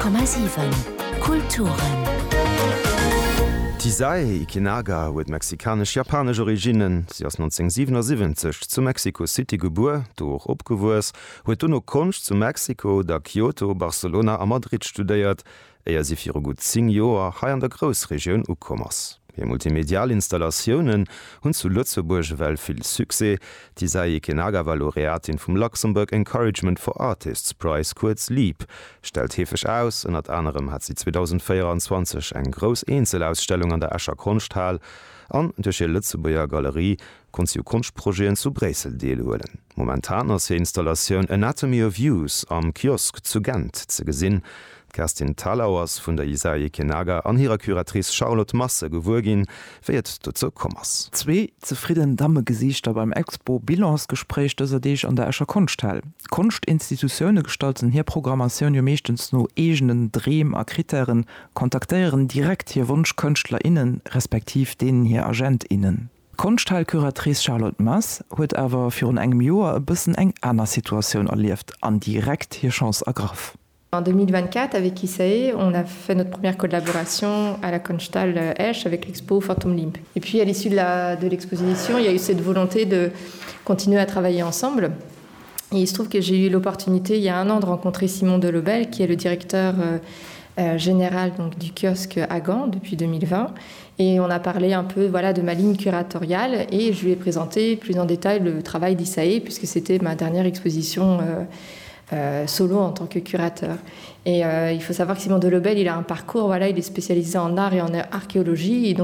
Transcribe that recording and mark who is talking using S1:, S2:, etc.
S1: 100,7 Kulturen.
S2: D'Hisae Ikenaga huet mexikanesch-japanesch Originnen. Si ass 1977 zu Mexico City gebuer, do och opgewuess, huet dono Konscht zu Mexiko, da Kyoto, Barcelona a Madrid studéiert, éier si viru gutt 10 Joer hei an der Groussregioun ukomm ass. Hir multimedial Installatiounen hunn zu Lëtzebuerg ewell vill Succès. D'Hisae Ikenaga war Laureatin vum Luxembourg Encouragement for Artists Prize, kuerz LEAP, stellt heefeg aus. Ënnert anerem hat si 2024 eng grouss Eenzelausstellung an der Escher Konschthal an duerch hir Lëtzebuerger Galerie konnt si u Konschtprojeten zu Bréissel deelhuelen. Momentan ass hir Installatioun Anatomy of Use am Kiosk zu Gent ze gesinn. D'Kerstin Thalau ass vun der Hisae Ikenaga an hirer Curatrice Charlotte Masse gewuer ginn, wéi et dozou komm ass.
S3: Zwee zefridden Dammegesiichter beim Expo-Bilansgespréich dëser Deeg an der Escher Konschthal. D'Konschtinstitutioune gestalten hir Programmatioun jo meeschtens no eegenen Dreem a Krittären, kontaktéieren direkt hir Wonschkënschtler, innen, respektiv deenen hir Agent, innen. D'Konschthalcuratrice Charlotte Mass huet awer virun engem Joer e bëssen eng aner Situatioun erlieft an direkt hir Chance ergraff.
S4: En 2024 avec Isae, on a fait notre première collaboration à la Konschthalle Esch avec l'expo Phantom Limp. Et puis à l'issue de l'exposition, il y a eu cette volonté de continuer à travailler ensemble. Et il se trouve que j'ai eu l'opportunité il y a un an de rencontrer Simon Delobel, qui est le directeur euh, euh, général donc, du kiosque à Gand depuis 2020. Et on a parlé un peu voilà, de ma ligne curatoriale et je lui ai présenté plus en détail le travail d'Isae puisque c'était ma dernière exposition euh, euh, solo en tant que curateur. Et euh, il faut savoir que Simon Delobel, il a un parcours, voilà, il est spécialisé en art et en archéologie et donc.